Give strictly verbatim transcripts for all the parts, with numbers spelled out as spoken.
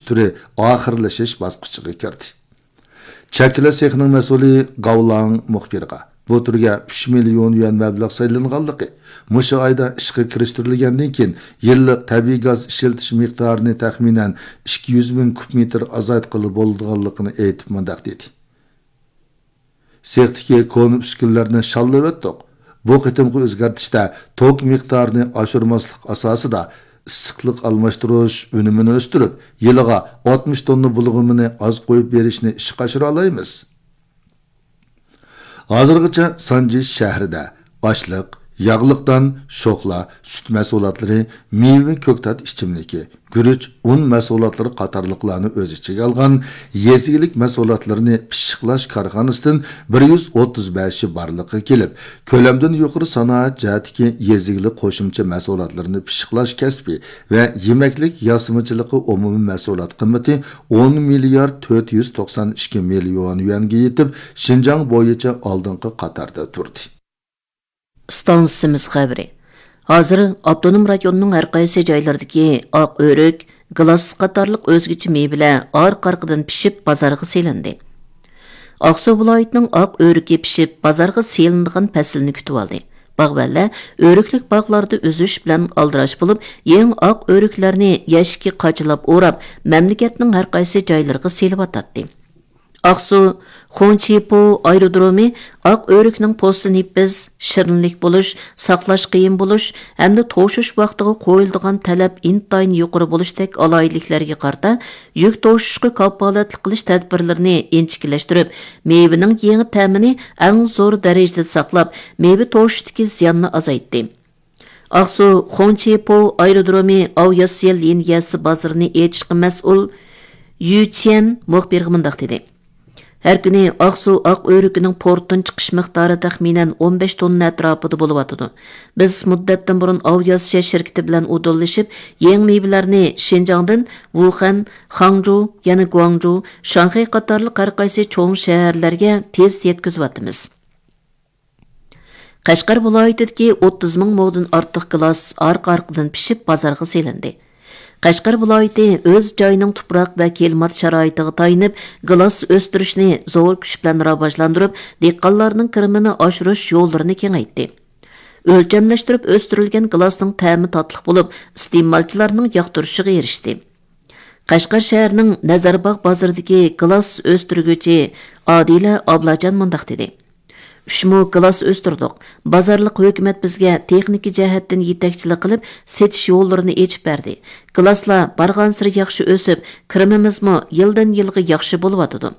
تۈرى ئاخىرلىشىش باسقۇچىغا كىردى. چەكلىك سېخنىڭ مەسئۇلى گاۋلاڭ مۇخبىرغا بۇ تۈرگە ئۈچ مىليون يۈەن مەبلەغ سېلىنغانلىقى، مۇشۇ ئايدا ئىشقا كىرىشتۈرۈلگەندىن كېيىن يىللىق تەبىئىي گاز ئىشلىتىش مىقدارىنى تەخمىنەن ئىككى يۈز مىڭ كۇب مېتىر ئازايتقىلى بولىدىغانلىقىنى ئېيتىپ مۇنداق دېدى. سېختىكى كونا ئۈسكۈنىلەرنى شاللىۋەتتۇق. بۇ قېتىمقى ئۆزگەرتىشتە توك مىقدارىنى ئاشۇرماسلىق ئاساسىدا ئىسسىقلىق ئالماشتۇرۇش ئۈنۈمىنى ئۆستۈرۈپ، يىلىغا ئاتمىش توننا بۇلغىمىنى ئاز قويۇپ بېرىشنى ئىشقا ئاشۇرالايمىز. ھازىرغىچە سانجى شەھىرىدە ئاشلىق، ياغلىق دان، شوخلا، سۈت مەھسۇلاتلىرى، مېۋە، كۆكتات ئىچىملىكى، گۈرۈچ، ئۇن مەھسۇلاتلىرى قاتارلىقلارنى ئۆز ئىچىگە ئالغان يېزا ئىگىلىك مەھسۇلاتلىرىنى پىششىقلاش كارخانىسىدىن بىر يۈز ئوتتۇز بەشى بارلىققا كېلىپ، كۆلەمدىن يۇقىرى سانائەت جەھەتتىكى يېزا ئىگىلىك قوشۇمچە مەھسۇلاتلىرىنى پىششىقلاش كەسپى ۋە يېمەكلىك ياسىمىچىلىقى ئومۇمىي مەھسۇلات قىممىتى ئون مىليارد تۆت يۈز توقسان ئىككى مىليون يۈەنگە يېتىپ، شىنجاڭ بويىچە ئالدىنقى قاتاردا تۇردى. ئىستانسىمىز خەۋىرى. ھازىر ئاپتونوم رايوننىڭ ھەر قايسى جايلىرىدىكى ئاق ئۆرۈك، گىلاس قاتارلىق ئۆزگىچە مېۋىلەر ئارقا-ئارقىدىن پىشىپ بازارغا سېلىندى. ئاقسۇ ۋىلايىتىنىڭ ئاق ئۆرۈكى پىشىپ بازارغا سېلىنىدىغان پەسىلنى كۈتۈۋالدى. باغۋەنلەر ئۆرۈكلۈك باغلاردا ئۈزۈش بىلەن ئالدىراش بولۇپ، يېڭى ئاق ئۆرۈكلەرنى يەشىككە قاچىلاپ ئوراپ، مەملىكەتنىڭ ھەر قايسى جايلىرىغا سېلىۋاتاتتى. ئاقسۇ خۇڭچىپو ئايرودرومى ئاق ئۆرۈكنىڭ پوستى نېپىز، شېرىنلىك بولۇش، ساقلاش قىيىن بولۇش ھەمدە توشۇش ۋاقتىغا قويۇلىدىغان تەلەپ ئىنتايىن يۇقىرى بولۇشتەك ئالاھىدىلىكلەرگە قارىتا، يۈك توشۇشقا كاپالەتلىك قىلىش تەدبىرلىرىنى ئىنچىكىلەشتۈرۈپ، مېۋىنىڭ يېڭى تەمىنى ئەڭ زور دەرىجىدە ساقلاپ، مېۋە توشۇشتىكى زىياننى ئازايتتى. ئاقسۇ خۇڭچىپو ئايرودرومى ئاۋياسيە لىنىيەسى بازىرىنى ئېچىشقا مەسئۇل يۈ چيەن مۇخبىرغا مۇنداق دېدى: ھەر كۈنى ئاقسۇ ئاق ئۆرۈكىنىڭ پورتتىن چىقىش مىقدارى تەخمىنەن ئون بەش توننا ئەتراپىدا بولۇۋاتىدۇ. بىز مۇددەتتىن بۇرۇن ئاۋياسىيە شىركىتى بىلەن ئۇدۇللىشىپ، يېڭى مېۋىلەرنى شىنجاڭدىن ۋۇخەن، خاڭجۇ، يەنە گۇاڭجۇ، شاڭخەي قاتارلىق ھەر قايسى چوڭ شەھەرلەرگە تېز يەتكۈزۈۋاتىمىز. قەشقەر ۋىلايىتىدىكى ئوتتۇز مىڭ مودىن ئارتۇق گىلاس ئارقا-ئارقىدىن پىشىپ بازارغا سېلىندى. قەشقەر ۋىلايىتى ئۆز جايىنىڭ تۇپراق ۋە كىلىمات شارائىتىغا تايىنىپ، گىلاس ئۆستۈرۈشنى زور كۈچ بىلەن راۋاجلاندۇرۇپ، دېھقانلارنىڭ كىرىمىنى ئاشۇرۇش يوللىرىنى كېڭەيتتى. ئۆلچەملەشتۈرۈپ ئۆستۈرۈلگەن گىلاسنىڭ تەمى تاتلىق بولۇپ، ئىستېمالچىلارنىڭ ياقتۇرۇشىغا ئېرىشتى. قەشقەر شەھىرىنىڭ نەزەرباغ بازىرىدىكى گىلاس ئۆستۈرگۈچى ئادىلە ئابلاجان مۇنداق دېدى: ئۈچ مو گىلاس ئۆستۈردۇق. بازارلىق ھۆكۈمەت بىزگە تېخنىكا جەھەتتىن يېتەكچىلىك قىلىپ، سېتىش يوللىرىنى ئېچىپ بەردى. گىلاسلار بارغانسېرى ياخشى ئۆسۈپ، كىرىمىمىزمۇ يىلدىن-يىلغا ياخشى بولۇۋاتىدۇ.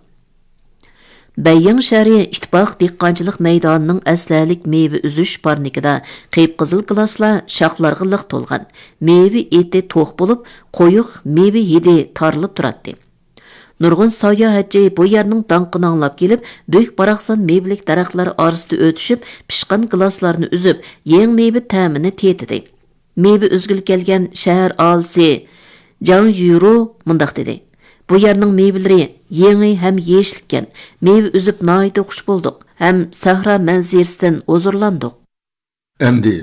بەييىڭ شەھىرى ئىتتىپاق دېھقانچىلىق مەيدانىنىڭ ئەسلىھەلىك مېۋە ئۈزۈش پارنىكىدا قىپقىزىل گىلاسلار شاخلارغا لىق تولغان. مېۋە ئېتى توق بولۇپ، قويۇق مېۋە ھىدى تارىلىپ تۇراتتى. نۇرغۇن ساياھەتچى بۇ يەرنىڭ داڭقىنى ئاڭلاپ كېلىپ، بۈك-باراقسان مېۋىلىك دەرەخلەر ئارىسىدا ئۆتۈشۈپ، پىشقان گىلاسلارنى ئۈزۈپ، يېڭى مېۋە تەمىنى تېتىدى. مېۋە ئۈزگىلى كەلگەن شەھەر ئاھالىسى جاڭ يۈرو مۇنداق دېدى: بۇ يەرنىڭ مېۋىلىرى يېڭى ھەم يېيىشلىككەن. مېۋە ئۈزۈپ ناھايىتى خۇش بولدۇق ھەم سەھرا مەنزىرىسىدىن ھۇزۇرلاندۇق. ئەمدى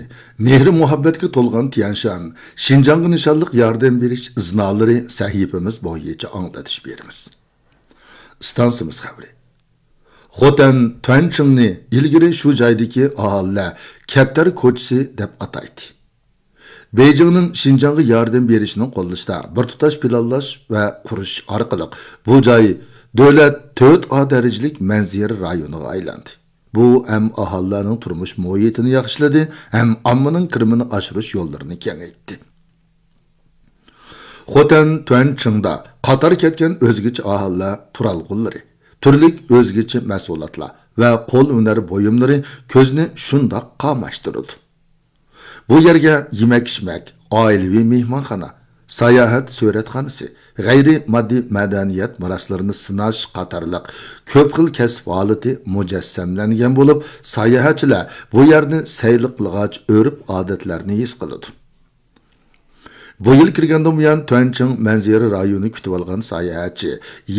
مېھرى-مۇھەببەتكە تولغان تيەنشان، شىنجاڭغا نىشانلىق ياردەم بېرىش ئىزنالىرى سەھىپىمىز بويىچە ئاڭلىتىش بېرىمىز. ئىستانسىمىز خەۋىرى. خوتەن تۈەنچىڭنى ئىلگىرى شۇ جايدىكى ئاھالىلەر كەپتەر كوچىسى دەپ ئاتايتتى. بېيجىڭنىڭ شىنجاڭغا ياردەم بېرىشىنىڭ قوللىشىدا بىر تۇتاش پىلانلاش ۋە قۇرۇش ئارقىلىق بۇ جاي دۆلەت تۆت ئا دەرىجىلىك مەنزىرە رايونىغا ئايلاندى. بۇ ھەم ئاھالىلەرنىڭ تۇرمۇش مۇھىتىنى ياخشىلىدى، ھەم ئاممىنىڭ كىرىمىنى ئاشۇرۇش يوللىرىنى كېڭەيتتى. خوتەن تۈەنچىڭدا قاتار كەتكەن ئۆزگىچە ئاھالىلەر تۇرالغۇلىرى، تۈرلۈك ئۆزگىچە مەھسۇلاتلار ۋە قول ھۈنەر بۇيۇملىرى كۆزنى شۇنداق قاماشتۇرىدۇ. بۇ يەرگە يېمەك-ئىچمەك، ئائىلىۋى مېھمانخانا، ساياھەت سۈرەتخانىسى، غەيرىي ماددىي مەدەنىيەت مىراسلىرىنى سىناش قاتارلىق كۆپ خىل كەسىپ ھالىتى مۇجەسسەملەنگەن بولۇپ، ساياھەتچىلەر بۇ يەرنى سەيلە قىلغاچ ئۆرپ-ئادەتلەرنى ھېس قىلىدۇ. بۇ يىل كىرگەندىن بۇيان، تۈەنچىڭ مەنزىرە رايونى كۈتۈۋالغان ساياھەتچى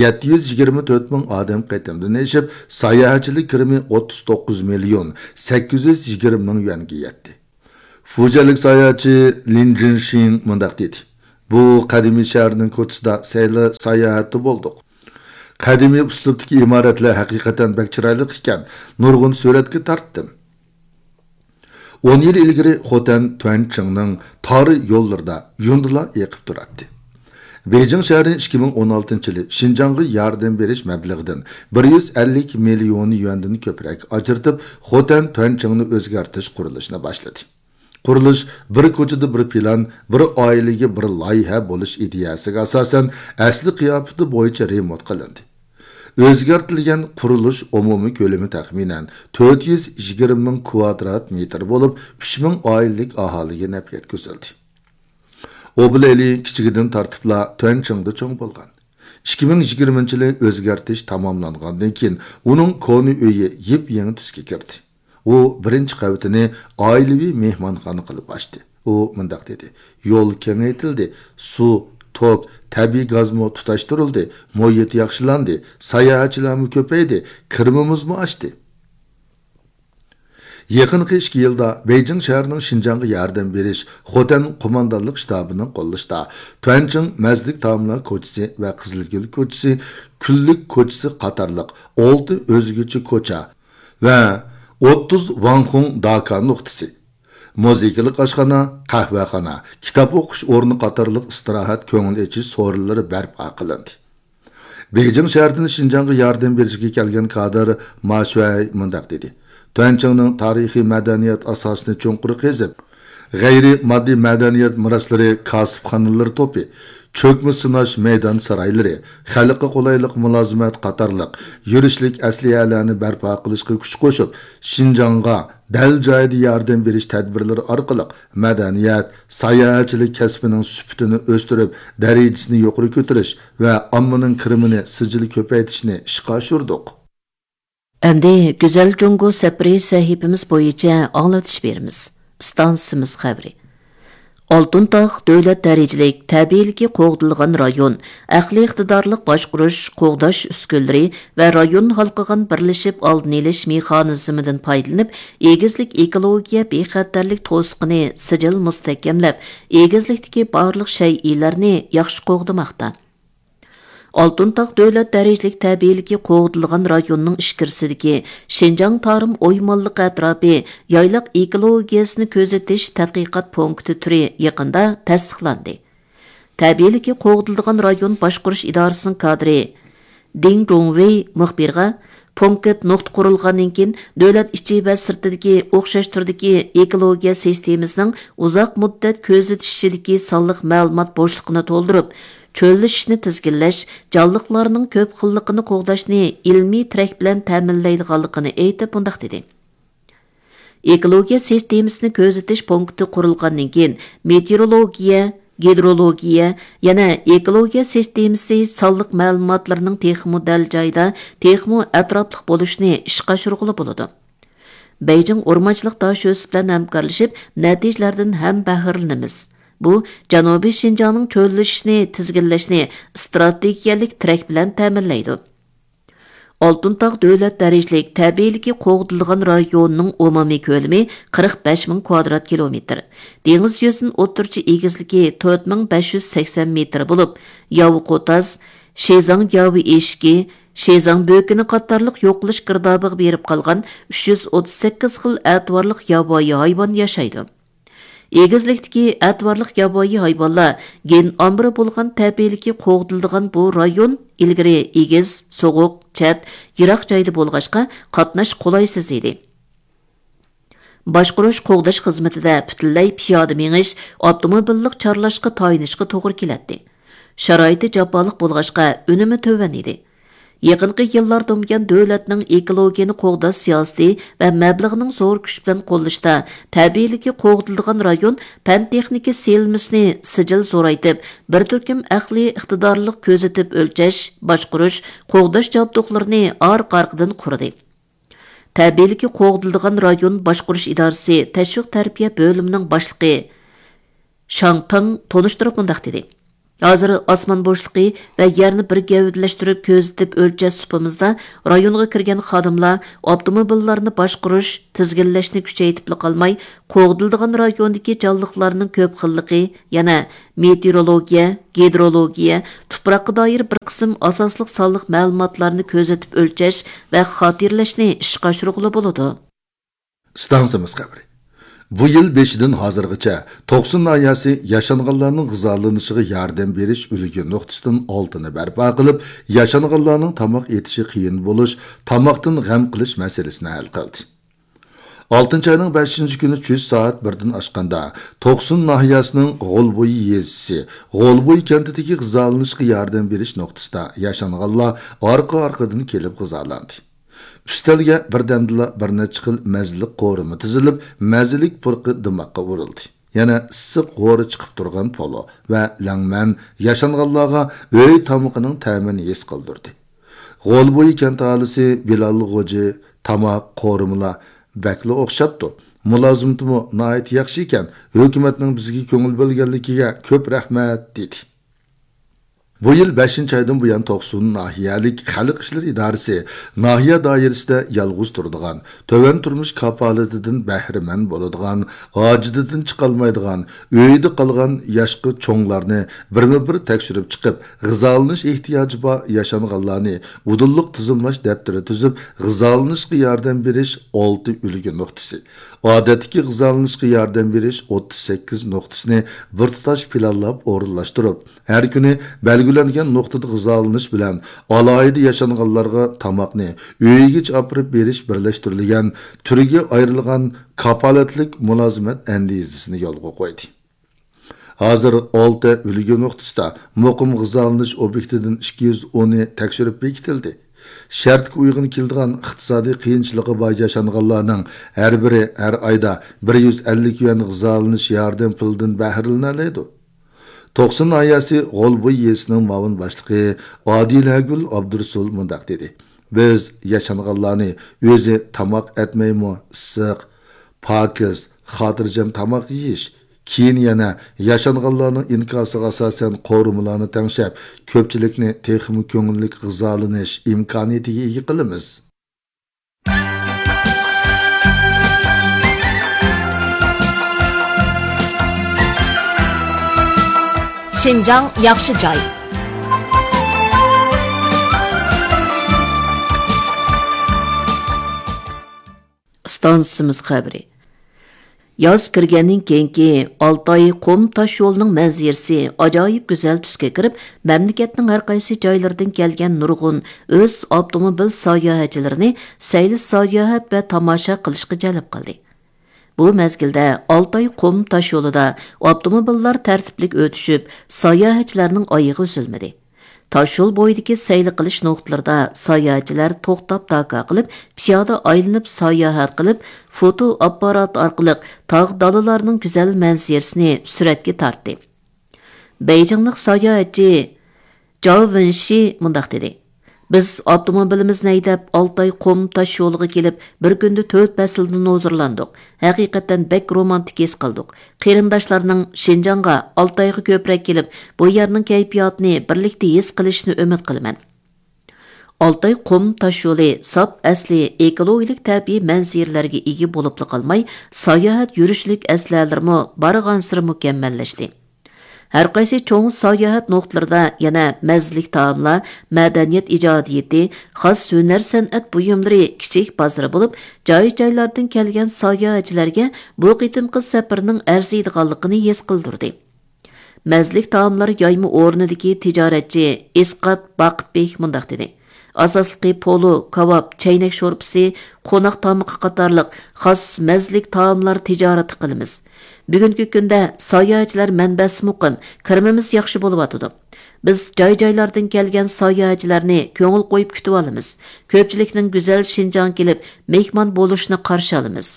يەتتە يۈز يىگىرمە تۆت مىڭ ئادەم قېتىمدىن ئېشىپ، ساياھەتچىلىك كىرىمى ئوتتۇز توققۇز مىليون سەككىز يۈز يىگىرمە مىڭ يۈەنگە يەتتى. فۇجيەنلىك ساياھەتچى لىن جىنشىڭ مۇنداق دېدى: بۇ قەدىمىي شەھەرنىڭ كوچىسىدا سەيلە ساياھەتتە بولدۇق. قەدىمىي ئۇسلۇبتىكى ئىمارەتلەر ھەقىقەتەن بەك چىرايلىق ئىكەن، نۇرغۇن سۈرەتكە تارتتىم. ئون يىل ئىلگىرى خوتەن تۈەنچىڭنىڭ تار يوللىرىدا يۇندىلار ئېقىپ تۇراتتى. بېيجىڭ شەھىرى ئىككى مىڭ ئون ئالتىنچى يىلى شىنجاڭغا ياردەم بېرىش مەبلىغىدىن بىر يۈز ئەللىك مىليون يۈەندىن كۆپرەك ئاجرىتىپ، خوتەن تۈەنچىڭنى ئۆزگەرتىش قۇرۇلۇشىنى باشلىدى. قۇرۇلۇش بىر كوچىدا بىر پىلان، بىر ئائىلىگە بىر لايىھە بولۇش ئىدىيەسىگە ئاساسەن، ئەسلى قىياپىتى بويىچە رېمونت قىلىندى. ئۆزگەرتىلگەن قۇرۇلۇش ئومۇمىي كۆلىمى تەخمىنەن تۆت يۈز يىگىرمە مىڭ كۋادرات مېتىر بولۇپ، ئۈچ مىڭ ئائىلىلىك ئاھالىگە نەپ يەتكۈزۈلدى. ئوبۇل ئېلى كىچىكىدىن تارتىپلا تۈەنچىڭدا چوڭ بولغان. ئىككى مىڭ يىگىرمىنچى يىلى ئۆزگەرتىش تاماملانغاندىن كېيىن، ئۇنىڭ كونا ئۆيى يېپيېڭى تۈسكە كىردى. ئۇ بىرىنچى قەۋىتىنى ئائىلىۋى مېھمانخانا قىلىپ ئاچتى. ئۇ مۇنداق دېدى: «يول كېڭەيتىلدى، سۇ، توك، تەبىئىي گازمۇ تۇتاشتۇرۇلدى، مۇھىت ياخشىلاندى، ساياھەتچىلەرمۇ كۆپەيدى، كىرىمىمىزمۇ ئاشتى.» يېقىنقى ئىككى يىلدا بېيجىڭ شەھىرىنىڭ شىنجاڭغا ياردەم بېرىش خوتەن قوماندانلىق شتابىنىڭ قوللىشىدا تۈەنچىڭ مەزلىك تائاملار كوچىسى ۋە قىزىلگۈل كوچىسى، كۈنلۈك كوچىسى قاتارلىق ئالتە ئۆزگىچە كوچا ۋە ئوتتۇز ۋاڭخۇڭ داكا نۇقتىسى، مۇزىكىلىق ئاشخانا، قەھۋەخانا، كىتاب ئوقۇش ئورنى قاتارلىق ئىستىراھەت، كۆڭۈل ئېچىش سورۇنلىرى بەرپا قىلىندى. بېيجىڭ شەھىرىدىن شىنجاڭغا ياردەم بېرىشكە كەلگەن كادىر ما شۈەي مۇنداق دېدى: «تۈەنچىڭنىڭ تارىخىي مەدەنىيەت ئاساسىنى چوڭقۇر قېزىپ، غەيرىي ماددىي مەدەنىيەت مىراسلىرى، كاسىپخانىلىرى توپى، چۆكمە سىناش مەيدان سارايلىرى، خەلققە قولايلىق مۇلازىمەت قاتارلىق يۈرۈشلۈك ئەسلىھەلەرنى بەرپا قىلىشقا كۈچ قوشۇپ، شىنجاڭغا دەل جايىدا ياردەم بېرىش تەدبىرلىرى ئارقىلىق مەدەنىيەت، ساياھەتچىلىك كەسپىنىڭ سۈپىتىنى ئۆستۈرۈپ، دەرىجىسىنى يۇقىرى كۆتۈرۈش ۋە ئاممىنىڭ كىرىمىنى سىجىل كۆپەيتىشنى ئىشقا ئاشۇردۇق.» ئەمدى گۈزەل جۇڭگو سەپىرى سەھىپىمىز بويىچە ئاڭلىتىش بېرىمىز. ئىستانسىمىز خەۋىرى. ئالتۇن تاغ دۆلەت دەرىجىلىك تەبىئىيلىكى قوغدىلىدىغان رايون، ئەقلىي ئىقتىدارلىق باشقۇرۇش، قوغداش ئۈسكۈنىلىرى ۋە رايون ھالقىغان بىرلىشىپ ئالدىنى ئېلىش مېخانىزمىدىن پايدىلىنىپ، ئېگىزلىك ئېكولوگىيە بىخەتەرلىك توسۇقىنى سىجىل مۇستەھكەملەپ، ئېگىزلىكتىكى بارلىق شەيئىلەرنى ياخشى قوغدىماقتا. ئالتۇن تاغ دۆلەت دەرىجىلىك تەبىئىيلىكى قوغدىلىدىغان رايوننىڭ ئىچكىرىسىدىكى شىنجاڭ تارىم ئويمانلىقى ئەتراپى يايلاق ئېكولوگىيەسىنى كۆزىتىش تەتقىقات پونكىتى تۈرى يېقىندا تەستىقلاندى. تەبىئىيلىكى قوغدىلىدىغان رايون باشقۇرۇش ئىدارىسىنىڭ كادىرى دىڭ جۇڭۋېي مۇخبىرغا، پونكىت نۇقتا قۇرۇلغاندىن كېيىن، دۆلەت ئىچى ۋە سىرتىدىكى ئوخشاش تۈردىكى ئېكولوگىيە سىستېمىسىنىڭ ئۇزاق مۇددەت كۆزىتىش ئىچىدىكى سانلىق مەلۇمات بوشلۇقىنى تولدۇرۇپ، چۆللىشىشنى تىزگىنلەش، جانلىقلارنىڭ كۆپ خىللىقىنى قوغداشنى ئىلمىي تىرەك بىلەن تەمىنلەيدىغانلىقىنى ئېيتىپ، مۇنداق دېدى: «ئېكولوگىيە سىستېمىسىنى كۆزىتىش پونكىتى قۇرۇلغاندىن كېيىن، مېتېئورولوگىيە، گىدرولوگىيە، يەنە ئېكولوگىيە سىستېمىسى سانلىق مەلۇماتلىرىنىڭ تېخىمۇ دەل جايىدا، تېخىمۇ ئەتراپلىق بولۇشىنى ئىشقا ئاشۇرغىلى بولىدۇ. بېيجىڭ ئورمانچىلىق داشۆسى بىلەن ھەمكارلىشىپ، نەتىجىلەردىن ھەم بەھرىلىنىمىز. بۇ جەنۇبىي شىنجاڭنىڭ چۆللىشىشىنى تىزگىنلەشنى ئىستراتېگىيەلىك تىرەك بىلەن تەمىنلەيدۇ.» ئالتۇن تاغ دۆلەت دەرىجىلىك تەبىئىيلىكى قوغدىلىدىغان رايونىنىڭ ئومۇمىي كۆلىمى قىرىق بەش مىڭ كۋادرات كىلومېتىر، دېڭىز يۈزىدىن ئوتتۇرىچە ئېگىزلىكى تۆت مىڭ بەش يۈز سەكسەن مېتىر بولۇپ، ياۋا قوتاز، شىزاڭ ياۋا ئېشىكى، شىزاڭ بۆكىنى قاتارلىق يوقىلىش گىردابىغا بېرىپ قالغان ئۈچ يۈز ئوتتۇز سەككىز خىل ئەتىۋارلىق ياۋايى ھايۋان ياشايدۇ. ئېگىزلىكتىكى ئەتىۋارلىق ياۋايى ھايۋانلار گېن ئامبىرى بولغان تەبىئىيلىكى قوغدىلىدىغان بۇ رايون ئىلگىرى ئېگىز، سوغۇق، چەت، يىراق جايدا بولغاچقا، قاتناش قولايسىز ئىدى. باشقۇرۇش، قوغداش خىزمىتىدە پۈتۈنلەي پىيادە مېڭىش، ئاپتوموبىللىق چارلاشقا تايىنىشقا توغرا كېلەتتى. شارائىتى جاپالىق بولغاچقا، ئۈنۈمى تۆۋەن ئىدى. يېقىنقى يىللاردىن بۇيان، دۆلەتنىڭ ئېكولوگىيەنى قوغداش سىياسىتى ۋە مەبلىغىنىڭ زور كۈچ بىلەن قوللىشىدا، تەبىئىيلىكى قوغدىلىدىغان رايون پەن-تېخنىكا سېلىنمىسىنى سىجىل زورايتىپ، بىر تۈركۈم ئەقلىي ئىقتىدارلىق كۆزىتىپ ئۆلچەش، باشقۇرۇش، قوغداش جابدۇقلىرىنى ئارقا-ئارقىدىن قۇردى. تەبىئىيلىكى قوغدىلىدىغان رايون باشقۇرۇش ئىدارىسى تەشۋىق تەربىيە بۆلۈمىنىڭ باشلىقى شاڭ پېڭ تونۇشتۇرۇپ مۇنداق دېدى: ھازىر ئاسمان بوشلۇقى ۋە يەرنى بىر گەۋدىلەشتۈرۈپ كۆزىتىپ ئۆلچەش سۇپىمىزدا رايونغا كىرگەن خادىملار ئاپتوموبىللارنى باشقۇرۇش، تىزگىنلەشنى كۈچەيتىپلا قالماي، قوغدىلىدىغان رايوندىكى جانلىقلارنىڭ كۆپ خىللىقى، يەنە مېتېئورولوگىيە، گىدرولوگىيە، تۇپراققا دائىر بىر قىسىم ئاساسلىق سانلىق مەلۇماتلارنى كۆزىتىپ ئۆلچەش ۋە خاتىرىلەشنى ئىشقا ئاشۇرغىلى بولىدۇ. ئىستانسىمىز خەۋىرى. بۇ يىل بېشىدىن ھازىرغىچە توقسۇن ناھىيەسى ياشانغانلارنىڭ غىزالىنىشىغا ياردەم بېرىش ئۈلگە نۇقتىسىدىن ئالتىنى بەرپا قىلىپ، ياشانغانلارنىڭ تاماق ئېتىشى قىيىن بولۇش، تاماقتىن غەم قىلىش مەسىلىسىنى ھەل قىلدى. ئالتىنچى ئاينىڭ بەشىنچى كۈنى چۈش سائەت بىردىن ئاشقاندا، توقسۇن ناھىيەسىنىڭ غولبويى يېزىسى، غولبويى كەنتىدىكى غىزالىنىشقا ياردەم بېرىش نۇقتىسىدا ياشانغانلار ئارقا-ئارقىدىن كېلىپ غىزالاندى. ئۈستەلگە بىردەمدىلا بىر نەچچە خىل مەززىلىك قورۇما تىزىلىپ، مەززىلىك پۇرىقى دىماققا ئۇرۇلدى. يەنە ئىسسىق ھورى چىقىپ تۇرغان پولۇ ۋە لەڭمەن ياشانغانلارغا ئۆي تامىقىنىڭ تەمىنى ھېس قىلدۇردى. غولبويى كەنت ئاھالىسى بىلال غوجى: «تاماق، قورۇمىلار بەكلا ئوخشاپتۇ. مۇلازىمىتىمۇ ناھايىتى ياخشى ئىكەن. ھۆكۈمەتنىڭ بىزگە كۆڭۈل بۆلگەنلىكىگە كۆپ رەھمەت» دېدى. بۇ يىل بەشىنچى ئايدىن بۇيان توقسۇن ناھىيەلىك خەلق ئىشلىرى ئىدارىسى ناھىيە دائىرىسىدە يالغۇز تۇرىدىغان، تۆۋەن تۇرمۇش كاپالىتىدىن بەھرىمەن بولىدىغان، ھاجىتىدىن چىقالمايدىغان، ئۆيىدە قالغان ياشقا چوڭلارنى بىرمۇ بىر تەكشۈرۈپ چىقىپ، غىزالىنىش ئېھتىياجى بار ياشانغانلارنى ئۇدۇللۇق تىزىملاش دەپتىرى تۈزۈپ، غىزالىنىشقا ياردەم بېرىش ئالتە ئۈلگە نۇقتىسى، ئادەتتىكى غىزالىنىشقا ياردەم بېرىش ئوتتۇز سەككىز نۇقتىسىنى بىر تۇتاش پىلانلاپ ئورۇنلاشتۇرۇپ، ھەر كۈنى بەلگىلەنگەن نۇقتىدا غىزالىنىش بىلەن ئالاھىدە ياشانغانلارغا تاماقنى ئۆيىگىچە ئاپىرىپ بېرىش بىرلەشتۈرۈلگەن تۈرگە ئايرىلغان كاپالەتلىك مۇلازىمەت ئەندىزىسىنى يولغا قويدى. ھازىر ئالتە ئۈلگە نۇقتىسىدا مۇقىم غىزالىنىش ئوبيېكتىدىن ئىككى يۈز ئونى تەكشۈرۈپ بېكىتىلدى. شەرتكە ئۇيغۇن كېلىدىغان ئىقتىسادىي قىيىنچىلىقى بار ياشانغانلارنىڭ ھەر بىرى ھەر ئايدا بىر يۈز ئەللىك يۈەن غىزالىنىش ياردەم پۇلىدىن بەھرىلىنەلەيدۇ. توقسۇن ناھىيەسى غولبوي يېزىسىنىڭ مۇئاۋىن باشلىقى ئادىلەگۈل ئابدۇرۇسۇل مۇنداق دېدى: «بىز ياشانغانلارنى ئۆزى تاماق ئەتمەيمۇ ئىسسىق، پاكىز، خاتىرجەم تاماق يېيىش، كېيىن يەنە ياشانغانلارنىڭ ئىنكاسىغا ئاساسەن قورۇمىلارنى تەڭشەپ، كۆپچىلىكنى تېخىمۇ كۆڭۈللۈك غىزالىنىش ئىمكانىيىتىگە ئىگە قىلىمىز.» شىنجاڭ ياخشى جاي. ئىستانسىمىز خەۋىرى. ياز كىرگەندىن كېيىنكى ئالتاي قۇم تاش يولىنىڭ مەنزىرىسى ئاجايىپ گۈزەل تۈسكە كىرىپ، مەملىكەتنىڭ ھەر قايسى جايلىرىدىن كەلگەن نۇرغۇن ئۆز ئاپتوموبىل ساياھەتچىلىرىنى سەيلە ساياھەت ۋە تاماشا قىلىشقا جەلپ قىلدى. بۇ مەزگىلدە ئالتاي قۇم تاش يولىدا ئاپتوموبىللار تەرتىپلىك ئۆتۈشۈپ، ساياھەتچىلەرنىڭ ئايىغى ئۈزۈلمىدى. تاشيول بويىدىكى سەيلە قىلىش نۇقتىلىرىدا ساياھەتچىلەر توختاپ داكا قىلىپ، پىيادە ئايلىنىپ ساياھەت قىلىپ، فوتو ئاپپارات ئارقىلىق تاغ دالىلارنىڭ گۈزەل مەنزىرىسىنى سۈرەتكە تارتتى. بېيجىڭلىق ساياھەتچى جاۋ ۋېنشى مۇنداق دېدى: «بىز ئاپتوموبىلىمىزنى ھەيدەپ، ئالتاي قۇم تاش يولىغا كېلىپ، بىر كۈندە تۆت پەسىلدىن ھۇزۇرلاندۇق. ھەقىقەتەن بەك رومانتىك ھېس قىلدۇق. قېرىنداشلارنىڭ شىنجاڭغا، ئالتايغا كۆپرەك كېلىپ، بۇ يەرنىڭ كەيپىياتىنى بىرلىكتە ھېس قىلىشىنى ئۈمىد قىلىمەن.» ئالتاي قۇم تاش يولى ساپ ئەسلى ئېكولوگىيەلىك تەبىئىي مەنزىرىلەرگە ئىگە بولۇپلا قالماي، ساياھەت يۈرۈشلۈك ئەسلىھەلىرىمۇ بارغانسېرى مۇكەممەللەشتى. ھەر قايسى چوڭ ساياھەت نۇقتىلىرىدا يەنە مەززىلىك تائاملار، مەدەنىيەت ئىجادىيىتى، خاس ھۈنەر-سەنئەت بۇيۇملىرى كىچىك بازىرى بولۇپ، جاي-جايلاردىن كەلگەن ساياھەتچىلەرگە بۇ قېتىمقى سەپىرىنىڭ ئەرزىيدىغانلىقىنى ھېس قىلدۇردى. مەززىلىك تائاملار يايما ئورنىدىكى تىجارەتچى ئىسقات باقىتبېك مۇنداق دېدى: «ئاساسلىقى پولۇ، كاۋاپ، چەينەك شورپىسى، قوناق تامىقى قاتارلىق خاس مەززىلىك تائاملار تىجارىتى قىلىمىز. بۈگۈنكى كۈندە ساياھەتچىلەر مەنبەسى مۇقىم، كىرىمىمىز ياخشى بولۇۋاتىدۇ. بىز جاي-جايلاردىن كەلگەن ساياھەتچىلەرنى كۆڭۈل قويۇپ كۈتۈۋالىمىز. كۆپچىلىكنىڭ گۈزەل شىنجاڭغا كېلىپ مېھمان بولۇشىنى قارشى ئالىمىز.»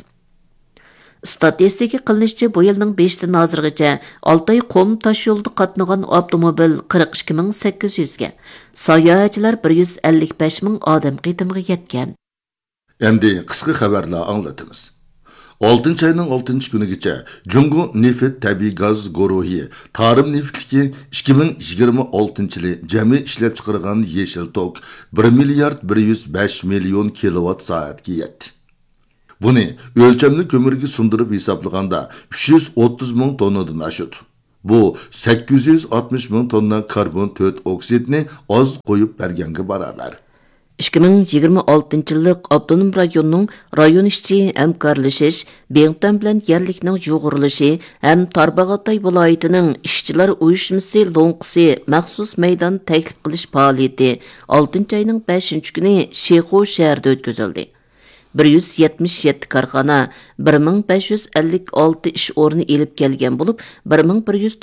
ئىستاتىستىكا قىلىنىشىچە، بۇ يىلنىڭ بېشىدىن ھازىرغىچە ئالتاي قۇم تاش يولىدا قاتنىغان ئاپتوموبىل قىرىق ئىككى مىڭ سەككىز يۈزگە، ساياھەتچىلەر بىر يۈز ئەللىك بەش مىڭ ئادەم قېتىمغا يەتكەن. ئەمدى قىسقا خەۋەرلەر ئاڭلىتىمىز. ئالتىنچى ئاينىڭ ئالتىنچى كۈنىگىچە جۇڭگو نېفىت تەبىئىي گاز گۇرۇھى تارىم نېفىتلىكى ئىككى مىڭ يىگىرمە ئالتىنچى يىلى جەمئىي ئىشلەپچىقىرغان يېشىل توك بىر مىليارد بىر يۈز بەش مىليون كىلوۋات سائەتكە يەتتى. بۇنى ئۆلچەملىك كۆمۈرگە سۇندۇرۇپ ھېسابلىغاندا، ئۈچ يۈز ئوتتۇز مىڭ توننىدىن ئاشىدۇ. بۇ سەككىز يۈز ئاتمىش مىڭ توننا كاربون تۆت ئوكسىدنى ئاز قويۇپ بەرگەنگە باراۋەر. ئىككى مىڭ يىگىرمە ئالتىنچى يىللىق ئاپتونوم رايوننىڭ رايون ئىچى ھەمكارلىشىش، بىڭتۈەن بىلەن يەرلىكنىڭ يۇغۇرۇلۇشى ھەم تارباغاتاي ۋىلايىتىنىڭ ئىشچىلار ئۇيۇشمىسى لوڭقىسى مەخسۇس مەيدان تەكلىپ قىلىش پائالىيىتى ئالتىنچى ئاينىڭ بەشىنچى كۈنى شىخۇ شەھىرىدە ئۆتكۈزۈلدى. بىر يۈز يەتمىش يەتتە كارخانا بىر مىڭ بەش يۈز ئەللىك ئالتە ئىش ئورنى ئېلىپ كەلگەن بولۇپ، بىر مىڭ بىر يۈز